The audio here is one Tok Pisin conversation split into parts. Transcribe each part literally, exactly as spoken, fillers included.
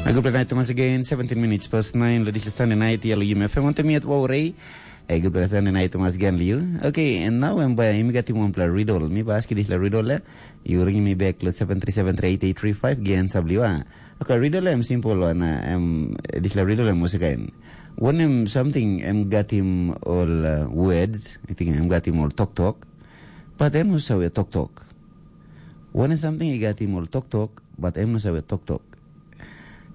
A gutpela nait tumas again, seventeen minutes past nine, lo dispela Sunday night, ya lo Yumi F M, wantem yet wau rei. A gutpela Sunday night tumas again, liu. Okay, and now em bai, mi gatim wanpela riddle. Mi bai aski dispela riddle, eh? You ring mi back lo seven three seven three eight eight three five, gen sab liu, ah. Okay, riddle em simple one, ah, em, dispela riddle em musikain. Wanem something em gatim ol, uh, words, I think em gatim ol tok tok, but em no save tok tok. Wanem something i gatim ol tok tok, but em no save tok tok.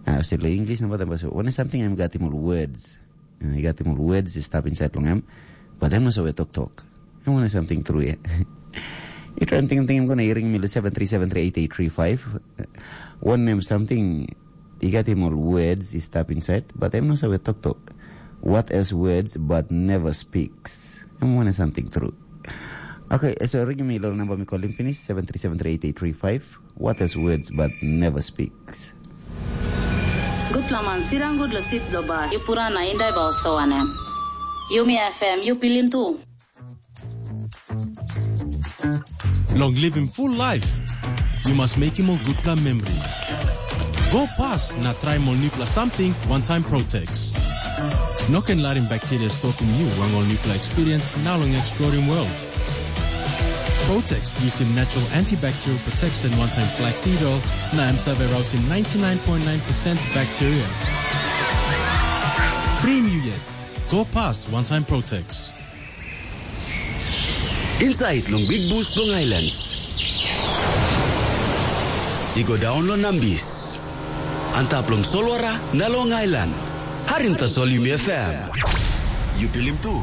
Ah, se lo English na batem baso. Wanem something em gatim ol words. Eh, i gatim ol words i stap inside long em, but em no save tok tok. Em wanem something true, eh? I try tingting, tingting, gona i ring mi lo seven three seven three eight eight three five. Wanem something i gatim ol words i stap inside, but em no save tok tok. What has words but never speaks? Em wanem something true. Okay, so ring mi lo namba mi kolim pinis, seven three seven three eight eight three five. What has words but never speaks? Gutpela man, sirang gut lo sit lo bas, yu pura na indai ba oso wanem. Yumi F M, yu pilim tu. Long living full life, you must make him a good plan memory. Go past na try ol nupela something one time Protex. No ken larim bacteria stopim you long ol nupela experience na long exploring world. Protex yusim natural antibacterial protection one time flaxseed oil na em save rausim ninety-nine point nine percent bacteria. Free you yet. Go past one time Protex. Inside long Big Bus long Islands. I go down long Nambis. Antap long Solwara na long Island. Harim tasol Yumi F M. You pilim tu.